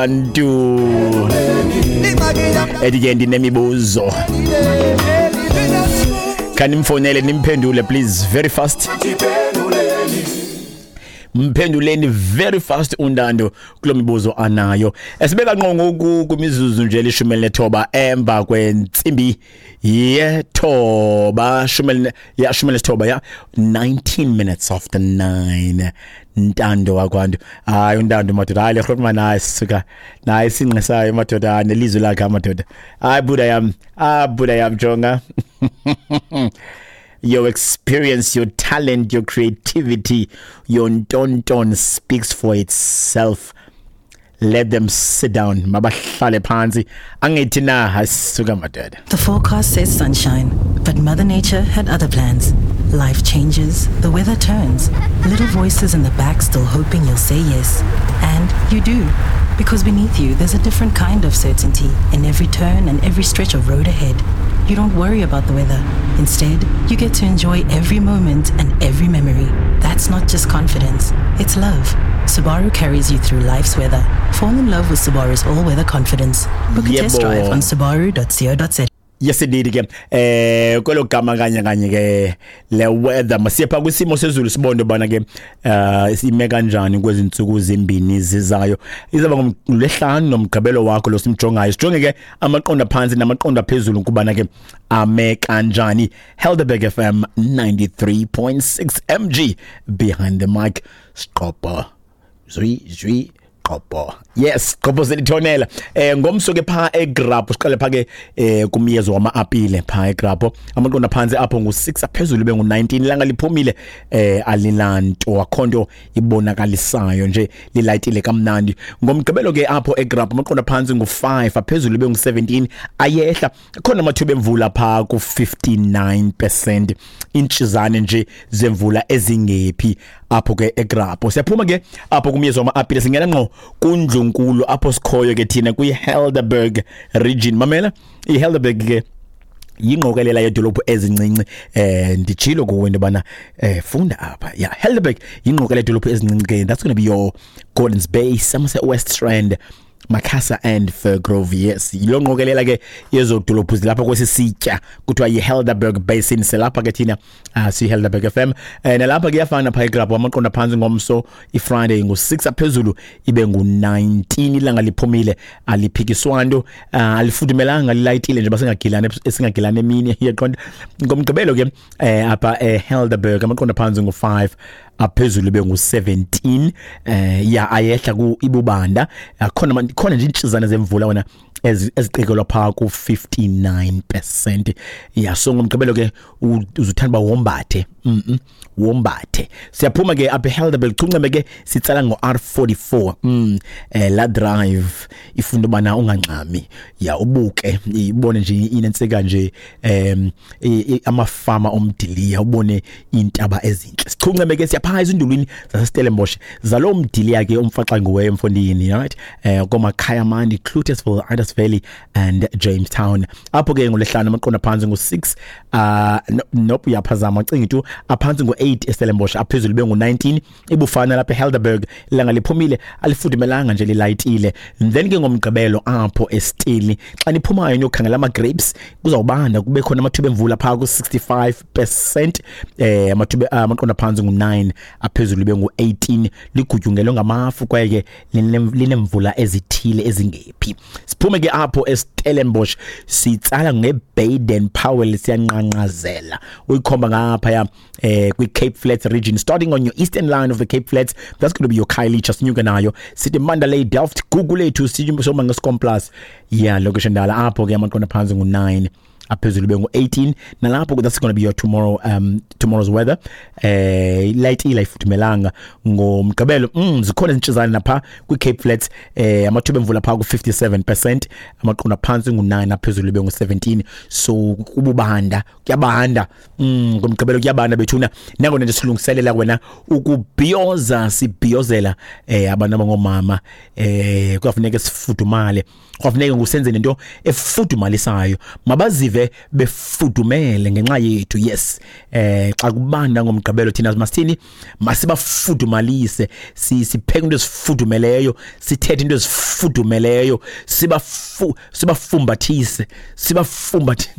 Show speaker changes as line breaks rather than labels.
Ntu ethi ke ndinemibuzo, khanimfowunele nimphendule please, very fast. Mphenduleni very fast uNtando kulo mibuzo anayo. Esibeka ngqo ngoku kwimizuzu nje 19 emva kwentsimbi yethoba, ya, 19 ya, 19 minutes after 9. Ntando wakwantu, hayi uNtando madoda, hayi le grootman, hayi suka naye sinqisayo madoda, nelizwi lakhe madoda, hayi buda yam, ah buda yam, jonga. Your experience, your talent, your creativity, your ntonton speaks for itself. Let them sit down. Mabahlale phansi. Angithi na hasuka madoda.
The forecast says sunshine, but Mother Nature had other plans. Life changes, the weather turns, little voices in the back still hoping you'll say yes. And you do. Because beneath you, there's a different kind of certainty in every turn and every stretch of road ahead. You don't worry about the weather. Instead, you get to enjoy every moment and every memory. That's not just confidence, it's love. Subaru carries you through life's weather. Fall in love with Subaru's all-weather confidence. Book a test
Yebo.
Drive on subaru.co.za.
Yes indeed ke, kwelo gama kanye kanye ke le weather, masiye pha kwisimo sezulu sibone bana ke ime kanjani kwezi ntsuku zimbini zizayo. Izaba ngolwehlanu nomgqibelo wakho lo simjongayo. Sijonge ke amaqondo phansi namaqondo phezulu kubana ke ame kanjani. Helderberg FM 93.6, MG behind the mic. Sqopo zwi zwi qopo, yes, qopo selithonela. Ngomso ke pha eGrabho, siqale pha ke kumyezo wama-apile pha eGrabho, amaqondo phansi apho ngu6, aphezulu bengu19. Ilanga liphumile, alilanto, akhonto ibonakalisayo nje, lilayitile kamnandi. Ngomgqibelo ke apho eGrabho, amaqondo phansi ngu5, aphezulu bengu17, ayehla. Khona amathuba emvula pha ku59%, intshizane nje zemvula ezingephi apho ke eGrabho. Siyaphuma ke apho kumyezo wama-apile, singena ngqo kundlunkulu apho sikhoyo ke thina kwi-Helderberg region. Mamela, i-Helderberg ke yingqokelela yedolophu ezincinci. Nditshilo kuwe into yobana funda apha. Yeah, Helderberg yingqokelela yedolophu ezincinci ke. That's going to be your Gordons Bay, Somerset West Rand, Macassar and Firgrove. Yes, yilo ngqokelela ke yezodolophu zilapha kwesi sitya kuthiwa yi-Helderberg Basin. Silapha ke thina, siyi-Helderberg FM. Nalapha kuyafana phaa eGrabho, amaqondo phantsi ngomso iFriday ngu-6, aphezulu ibe ngu-19. Ilanga liphumile, aliphikiswa nto, alifudumelanga, lilayitile nje, basingagilani esingagilani emini, iyaqonda. Ngomgqibelo ke apha eHelderberg, amaqondo phantsi ngu-5, aphezulu bengu-17, ya, ayehla ku ibubanda. Khona khona nje intshizana zemvula wona eziqikelwa phaa ku-59%. Ya, so ngomgqibelo ke uzuthanda uba wombathe, wombathe. Siyaphuma ke apha eHelderberg, chunceme ke sitsala ngo-R44. La drive ifunda ubana ungangxami, ya, ubuke ibone nje inentsika nje, amafama omdiliya, ubone iintaba ezintle. Sichunceme ke siyaphaa ezindulwini zaseStellenbosch, zaloo mdiliya ke umfaxanguweyo mfondini, right, komakhaya mandi, Cloetesville, Idas Valley and Jamestown. Apho ke ngolwehlanu amaqondo phantsi ngu-6, no, nope, uyaphazama, cinga tu, aphantsi ngu-8 eStellenbosch, aphezulu bengu-19. Ibufana lapha eHelderberg, ilanga liphumile, alifudumelanga nje, lilayitile. Then ke ngomgqibelo apho eStili, xa niphumayo niyokhangela ama-grapes, kuzawubanda, kube khona amathuba emvula phaa ku-65%. Amathuba, amaqondo phantsi ngu-9, aphezulu bengu-18, ligutyungelwe ngamafu kwaye ke linemvula ezithile ezingephi. Siphume ke apho eStellenbosch, sitsala ngeBaden Powell, siyanqanqazela uyikhomba ngaphaya kwi-Cape Flats region, starting on your eastern line of the Cape Flats. That's going to be your Khayelitsha. Sinyuke nayo sithi Mandalay, Delft, Gugulethu, sithi soma ngeScom. Yeah, location dala apho ke amaqondo phantsi ngu-9, aphezulu bengu-18. Nalapho that's going to be your tomorrow's weather. Light ila ifudumelanga ngomgqibelo. Zikhona izintshizane napha kwi-Cape Flats, amathuba emvula phaa ku-57%, amaqondo phantsi ngu-9, aphezulu bengu-17. So kububanda, kuyabanda ngomgqibelo, kuyabanda bethuna. Nangona nje silungiselela wena ukubhiyoza, sibhiyozela abantu abangomama, kuyafuneka sifudumale, kuyafuneka ngusenze nento efudumalisayo, mabazive. Bazive befudumele ngenxa yethu. Yes, xa kubanda ngomgqibelo, thina masithini? Masibafudumalise, sipheke into ezifudumeleyo, sithethe into ezifudumeleyo, sibafumbathise, sibafumbathi.